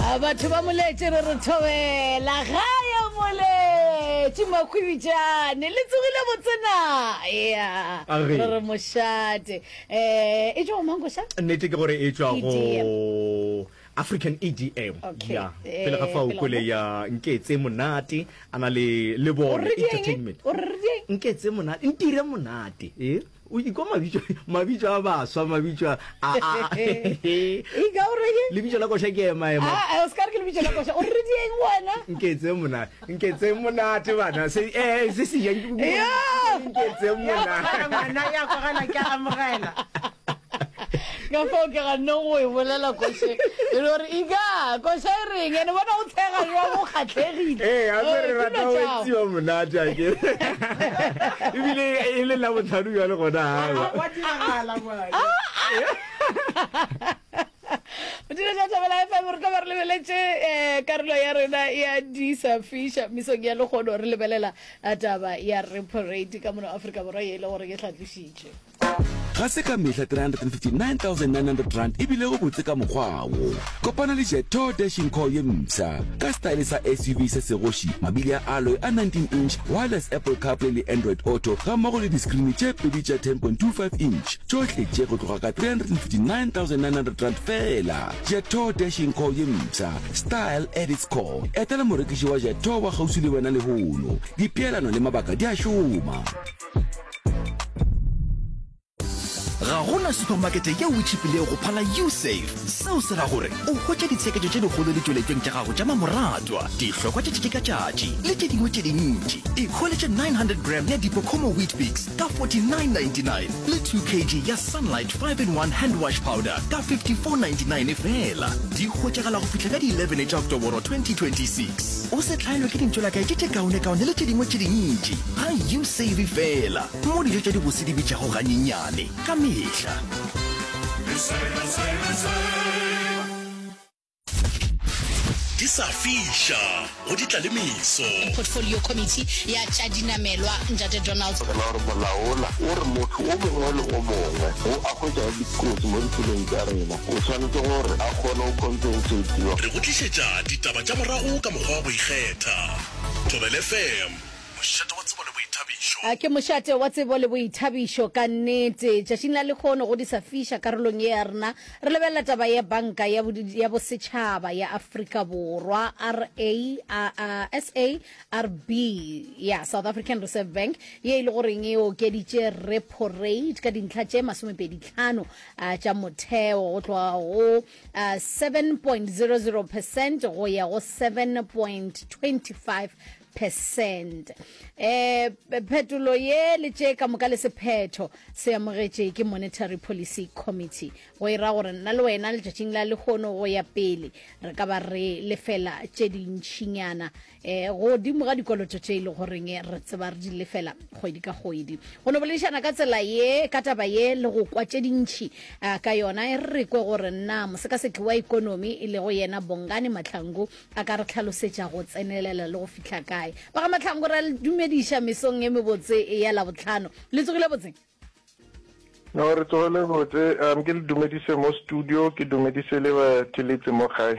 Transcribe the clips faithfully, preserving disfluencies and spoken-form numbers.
Batho ba Moletše re re thobela gae Moletše Makhwibitšane le tsogile botse na ya Age. re re mošate eh e tšwa go mang koša Nnete ke gore e tšwa E D M. Go African E D M. Okay. Ya Eh, pele ga fao pele ga kwele mo. ya Nketse Monate a na le le O bone re dieng? Entertainment. O re dieng? Nketse Monate, ntire monate e o ikwa mabitso, mabitso a baswa, mabitso a a Ika o reng? Lebitso la koša ke ema ema. Ah, o ska re ke lebitso la koša. O re dieng wena? Nketse monate, nketse monate bana se eh se se jang. Yeah. Nketse monate. Ngwana ya kwagala, ke a amogela. Ka fao ke ganne go e bolela koše e le gore ika koša e reng ene bona o tshega jwang o kgatlhegile. Ee, gape Eh, re ke rata dilo go tšao. etsiwa monate ake ebile e le la botlhano jale gona gawa. Wa diragala ngwana. Dilo tša Thobela F M, re tlo ba re lebeletše um karolo ya rena ya di sa fiša mesong ya lekgono, re lebelela eh, taba ya repo rate ka mono Afrika Borwa ye e le gore ke hlatlošitše. Ga se ka mehla three hundred fifty-nine thousand nine hundred rand e bilego botse ka mokgwa wo. Kopana le Jetour Dashing Core ye mpsha ka style sa S U V se segoši, mabili a alloy a nineteen inch, wireless Apple CarPlay le Android Auto gammogo le di-screen tše pedi tša ten point two five inch. Tšohle tše go tloga ka three hundred fifty-nine thousand nine hundred rand fela. Jetour Dashing Core ye mpsha, style at its core. Etela morekiši wa Jetour wa kgauswi le wena lehono. Dipeelano le mabaka di a šoma. Ga gona supermarkete yeo e tšhipilego go phala Usave. Seo se ra gore o hwetša ditsheketšo tše dikgolo ditšweletšong tša gago tša mamoratwa, dihlokwa tša tšatši ka tšatši le tše dingwe tše dintši. Ikhweletše nine hundred gram ya Dipokomo Weet-Bix ka forty-nine ninety-nine le two kilograms ya Sunlight five in one hand wash powder ka fifty-four ninety-nine fela. Di hwetšagala go fihla ka di eleven tša Oktoboro twenty twenty-six. O se hlaelwe ke dintšolakae tše tše kaonekaone le tše dingwe tše dintši ga Usave fela, mo dijo tša dibose di bitšago ganyenyane ka mehla. Di sa fiša go di tla le meso. Portfolio Committee ya tša dinamelwa, Ntate Donald. La gore molaola o re motho o mongwe le o mongwe o a hwetša dikotsi mo ditseleng tša rena o tshwanetse gore a kgone go compensatiwa. Re go tlišetša ditaba tša morago ka mokgwa wa go ikgetha. Thobela F M, mošate wa tsebo le boithabišo. A ke mošate wa tsebo le boithabišo ka nnete. Tšatšing la lehono go di sa fiša karolong ye ya rena re lebelela taba ya Banka ya ya Bosetšhaba ya Afrika Borwa, R A a, S A R B ya South African Reserve Bank, ye e le goreng e okeditše repo rate ka dintlha tše masomepedi tlhano tša motheo go tloga go seven point zero zero percent go ya go seven point two five percent. eh phetolo ye le tše ka moka le sephetho se amogetše ke Monetary Policy Committee, go e ra gore nna le wena letšatšing la lehono go ya pele re ka ba re lefela tše dintšhinyana eh godimo ga dikoloto tše e le goreng re tseba re di lefela kgwedi ka kgwedi. Go no boledišana ka tsela ye ka taba ye le go kwa tše dintšhi eh, ka yona, e re kwe gore nna mosekaseki wa ikonomi e lego yena Bongani Mahlangu a ka re tlhalosetša go tsenelela le go fihla kae. Ba ga Mahlangu, re dumediša mesong e mebotse ya Labotlhano. Le tsogile botse? No, re tsogile botse. um ke le dumedise mo studio, ke dumedise le batheletsi mo gae.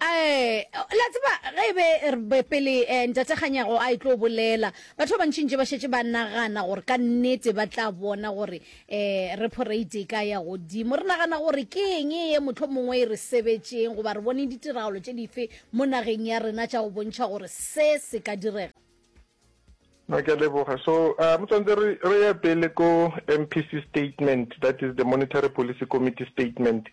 Eh la tseba ge e be re be pele eh, ntate Kganyago a e tlo bolela, batho ba bantšintši ba šetše ba nagana gore ka nnete ba tla bona gore um repo rate e ka ya godimo. Re nagana gore ke eng ye motlho mongwe e re sebetšeng, goba re bone ditiragalo tše dife mo nageng ya rena tša go bontšha gore se se ka direga? No, ke a leboga. So um tshwanetse re re ye pele ko M P C statement, that is the Monetary Policy Committee statement.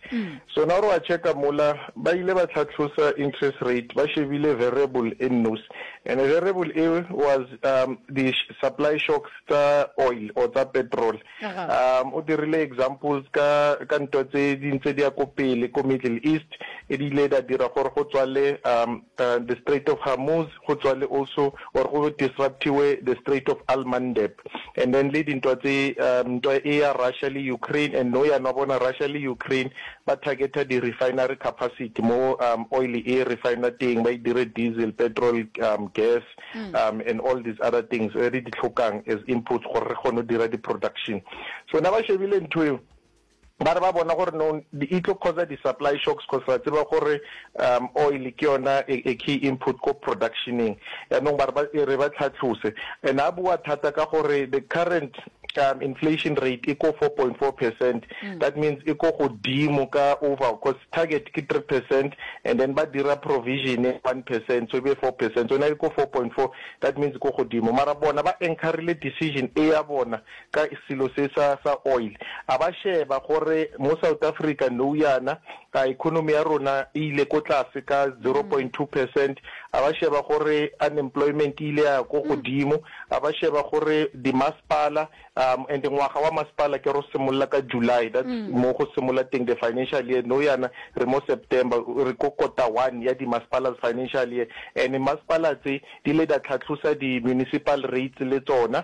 So na re wa checka mola ba ile ba tlhatlhosa interest rate, ba shebile variable e nnosi, and variable e was um the supply shocks tsa oil or tsa petrol. um o dirile examples ka ka ntwa tse di ntse di ya ko pele ko Middle East, e di ile da dira gore go tswale um uh, the Strait of Hormuz, go tswale also or go disruptiwe the Strait of Al Mandeb, and then le dintwa tse um ntwa e ya Russia le Ukraine. And no ya bona Russia le Ukraine ba targeta di refinery capacity mo um oil e refiner teng, ba e dire diesel, petrol, um gas mm. um and all these other things re di tlhokang as inputs gore re kgone go dira di production. So na ba shebile ntho eo. Ba re ba bona gore no e tlo causa di-supply shocks cause ra tseba gore um oil ke yona a, a key input ko productioneng. Yaanong ba re ba e re ba tlhatlose. And a bua thata ka gore the current um inflation rate e ko four point four percent, that means e ko godimo ka over cause target ke three percent and then ba dira provision ya one percent so e be four percent, so na e ko four point four that means e ko godimo. Mara bona ba anchorile decision e ya bona ka selo se sa sa oil. A ba sheba gore mo South Africa nou yana a economy ya rona e ile ko tlase ka zero point two percent, a ba sheba gore unemployment e ile ya ko godimo, a ba sheba gore di masepala um and ngwaga wa masepala ke ro simolla ka July, that's mo go simolla teng the financial year. Nou yana re mo September, re ko quarter one ya di masepala's financial year, and masepala tse di ile da tlhatlhosa di municipal rates le tsona,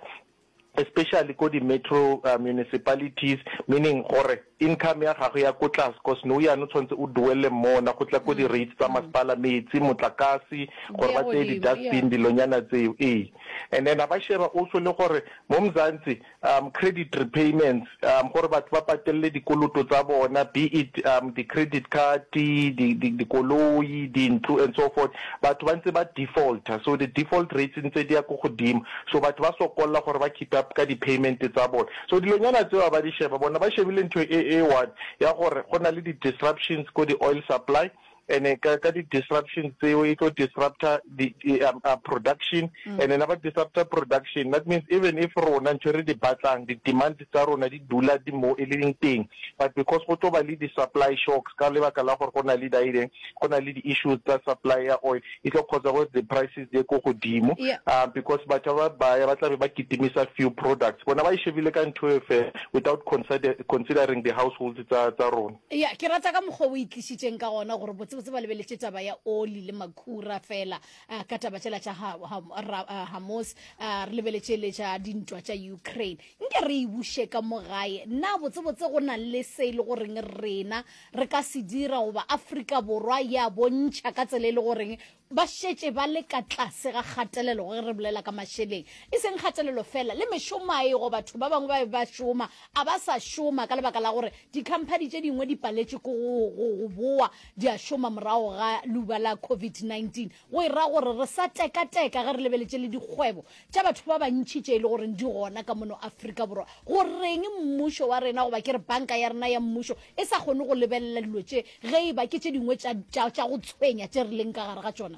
especially ko di metro uh, municipalities, meaning gore income ya gago ya ko tlase cause nou yana o tshwanetse o duele mona go tla ko di rates tsa masepala, metsi, motlakase, gore ba tseye di dustbin, dilonyana tseo. Ee, and then a ba sheba also le gore mo Mzansi um credit repayments, um gore batho ba patelle dikoloto tsa bona, be it um di credit card, di di dikoloi, dintlo and so forth, batho ba ntse ba defaulter, so the default rates ntse di ya ko godimo, so batho ba sokolla gore ba keep up ka di payment tsa bona. So dilonyana tseo ba di sheba, bona ba shebile ntho e e one ya gore go na le di disruptions ko di oil supply, and ka ka di disruptions tseo e tlo disrupta di, di um, uh, production, mm. and then ba disrupta production, that means even if rona ntho re di batlang, di demand tsa rona di dula di mo e leng teng, but because go tlo ba le di supply shocks ka lebaka la gore go na le daileng, go na le di issues tsa supply ya oil, e tlo cause gore the prices di ye ko godimo, Yeah. uh, because batho ba baya ba tlabe ba kitimisa few products, bona ba e shebile ka ntho e fela without consider, considering the households tsa tsa rona. Ya, ke rata ka mokgwa o itlišitšeng ka gona gore botsebotse ba lebeletše taba ya oli le makhura fela, uh, ka taba tšela tša ha, ha, ra, uh, Hamas, uh, re lebeletše le tša dintwa tša Ukraine. Nke re e buše ka mo gae, na botsebotse go na le se e le goreng rena re ka se dira goba Afrika Borwa ya bontšha ka tsela e le goreng ba šetše ba le ka tlase ga kgatelelo ge re bolela ka mašeleng, e seng kgatelelo fela le mešomo a ego, batho ba bangwe ba be ba šoma a ba sa šoma ka lebaka la gore di-company tše dingwe di paletše ko go, go, go boa di a šoma morago ga leuba la covid nineteen. Go e ra gore re sa tekateka ge re lebeletše le dikgwebo tša batho ba bantši tše e le goreng di gona ka mono Afrika Borwa. Go reng mmušo wa rena goba ke re banka ya rena ya mmušo e sa kgone go lebelela dilo tše ge e ba ke tše dingwe tša, tša, tša go tshwenya tše re leng ka gare ga tšona?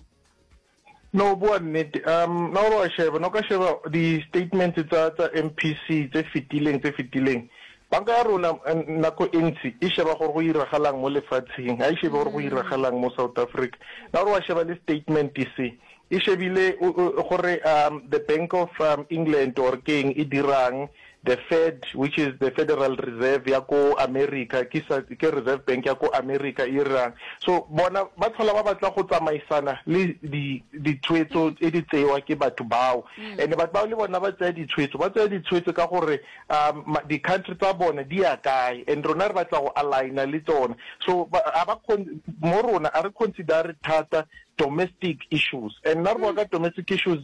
No, bua nnete. Um, na o wa sheba, no ka sheba di-statements tsa tsa M P C tse fetileng, tse fetileng. Banka ya rona nako e ntsi e sheba gore go iragalang mo lefatsheng, ha e shebe gore go iragalang mo South Africa. Na o wa sheba le statement se e shebile gore um the Bank of um, England or keng e dirang, the Fed, which is the Federal Reserve ya ko America, ke sa, ke Reserve Bank ya ko America e irang. So bona ba tlhola ba batla go tsamaisana le di ditshwetso tse di tsewa ke batho bao. And batho bao le bona ba tsaya ditshwetso, ba tsaya ditshwetso ka gore um di-country tsa bona di ya kae, and rona re batla go aligna le tsona. So ba a ba mo rona a re consider thata domestic issues, and nna re bua ka domestic issues,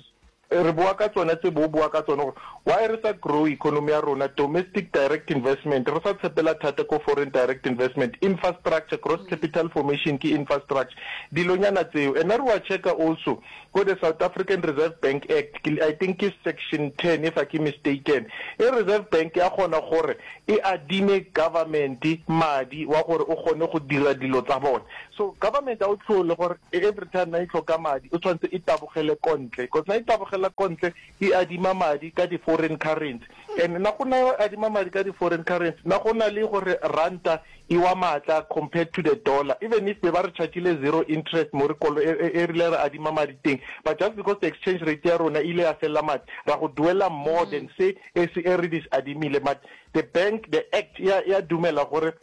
re bua ka tsona tse bo bua ka tsona gore why re sa grow economy ya rona, domestic direct investment re sa tshepela thata ko foreign direct investment, infrastructure, gross capital formation ke infrastructure, dilonyana tseo. And re wa checka also ko the South African Reserve Bank Act, I think ke section ten if I ke mistaken, e Reserve Bank ya kgona gore e adime government madi wa gore o kgone go dira dilo tsa bona. So government a o tlhole gore every time na e tlhoka madi o tshwanetse e tabogele kontle, because na e tabogela kontle e adima madi ka di foreign currency, and na go na adima madi ka di foreign currency na go na le gore ranta e wa matla compared to the dollar, even if be ba re chargile zero interest mo re kolo e rile re adima madi teng, but just because the exchange rate ya rona ile ya fella madi ra go duela more than se e se e re dis adimile. But the bank, the act ya ya dumela gore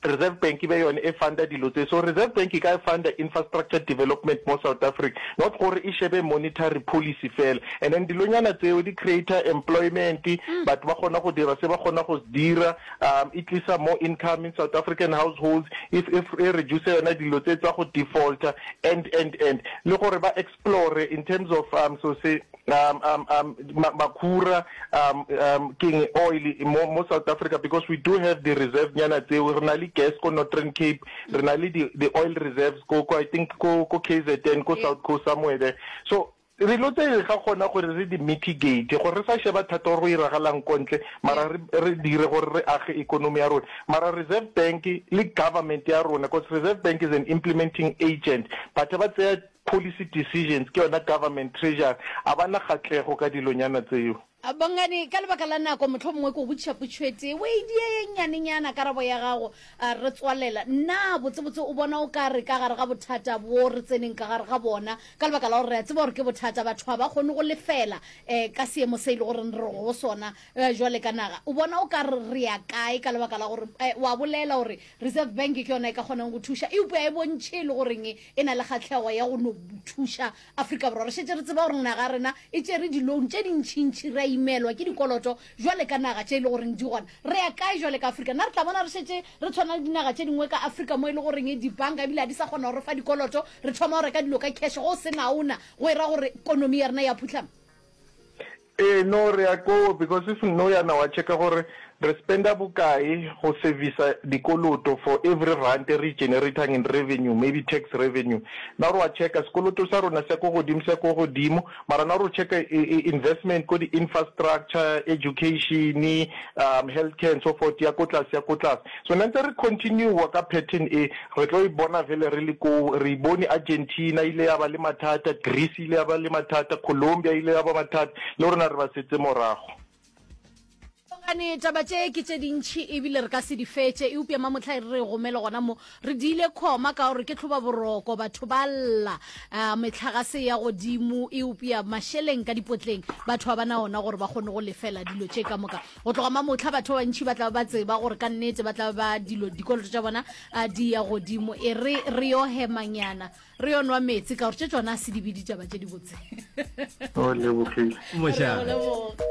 Reserve Bank e be yone e funda dilo tse. So Reserve Bank e ka funda infrastructure development mo South Africa, not gore e shebe monetary policy fela. And then dilonyana tseo di create-a employment, batho ba kgona go dira se ba kgona go se dira, um e tlisa more income in South African households, e e reduce yona dilo tse tsa go defaulter and and and le gore ba explore in terms of um so se um um um makhura um um keng oil mo mo South Africa because we do have the reserve nyana tseo re na le gas ko Northern Cape re na le di the oil reserves ko ko I think ko ko K Z N ko South Coast somewhere there. So dilo tse ga kgona gore re di mitigate gore re sa sheba thata gore go iragalang ko ntle, mara re re dire gore re age economy ya rona. Mara Reserve Bank le government ya rona, because Reserve Bank is an implementing agent, but ba tseya policy decisions ke yona government, treasury a bana kgatlego ka dilonyana tseo. Bongani, ka lebaka la nako, motlho mongwe ke o botšiša potšo e tee o e die ye nnyanenyana karabo ya gago re tswalela. Nna botsebotse o bona o ka re ka gare ga bothata bo re tseneng ka gare ga bona, ka lebaka la gore re a tseba gore ke bothata, batho ga ba kgone go lefela um ka seemo se e le goreng re go sona um jwale ka naga, o bona o ka re re ya kae? Ka lebaka la gore um wa bolela gore Reserve Bank ke yona e ka kgonang go thuša, eupša e bontšhe e le goreng e na le kgatlhego ya go no thuša Afrika Borwa. Re šetse re tseba gore naga rena e tšere di-loan tše dintšhintšhi, re a imelwa ke dikoloto jwale ka naga tše e le goreng di gona. Re ya kae jwale ka Afrika? Nna re tla bona re šetse re tshwana le dinaga tše dingwe ka Afrika mo e le goreng dibanka ebile ga di sa kgona go re fa dikoloto, re thoma go reka dilo ka cash go se naona, go e ra gore ikonomi ya rena ya phutlhama? Ee, no re ya koo, because if no yana wa checka gore re spenda bokae go servisa dikoloto for every rand re generatang in revenue, maybe tax revenue. Na re wa checka sekoloto sa rona se ko godimo, se ko godimo, mara na re checka investment ko di-infrastructure, education, um healthcare and so forth, ya ko tlase, ya ko tlase. So na ntse re continue ka pattern e, re tlo e bona vele re le ko re bone Argentina ile ya ba le mathata, Greece ile ya ba le mathata, Colombia ile ya ba mathata, le rona re ba setse morago. Gane taba tše ke tše dintšhi ebile re ka se di fetše, eupša mamotlha e re re gomele gona mo re diile khoma ka gore ke tlhoba boroko, batho ba lla, uh, metlhagase ya godimo, eupša mašeleng ka dipotleng batho ba bana ona gore ba kgone go lefela dilo tše ka moka. Go tloga mamotlha batho ba bantšhi ba tla ba tseba gore ka nnete ba tla ba dilo dikoloto tša bona uh, di ya godimo. E re re yo hemanyana, re yo nwa metsi, ka gore tše tsona a se di be ditaba tše di botse. O lebogile. Mošate. Re go leboga.